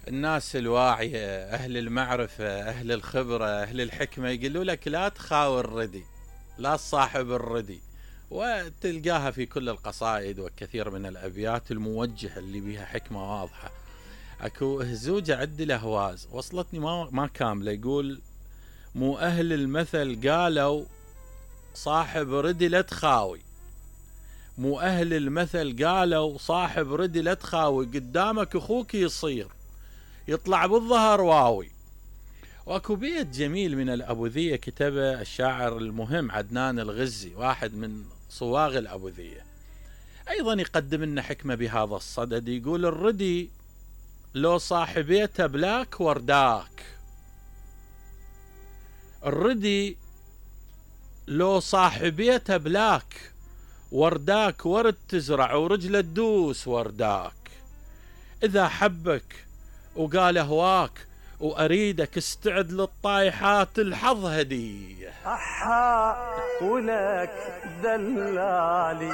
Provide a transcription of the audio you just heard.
الناس الواعية، أهل المعرفة، أهل الخبرة، أهل الحكمة يقولوا لك لا تخاوي الردي، لا تصاحب الردي. وتلقاها في كل القصائد وكثير من الأبيات الموجهة اللي بها حكمة واضحة. أكو هزوجة عد الأهواز وصلتني ما كاملة، يقول: مو أهل المثل قالوا صاحب ردي لا تخاوي، مو أهل المثل قالوا صاحب ردي لا تخاوي، قدامك أخوك يصير يطلع بالظهر واوي. واكو بيت جميل من الأبوذية كتبه الشاعر المهم عدنان الغزي، واحد من صواغ الأبوذية، أيضا يقدم لنا حكمة بهذا الصدد. يقول: الردي لو صاحبيته بلاك ورداك، الردي لو صاحبيته بلاك ورداك، ورد تزرع ورجله تدوس ورداك. إذا حبك وقال هواك وأريدك استعد للطايحات، الحظ هدية. أحا ولك دلالي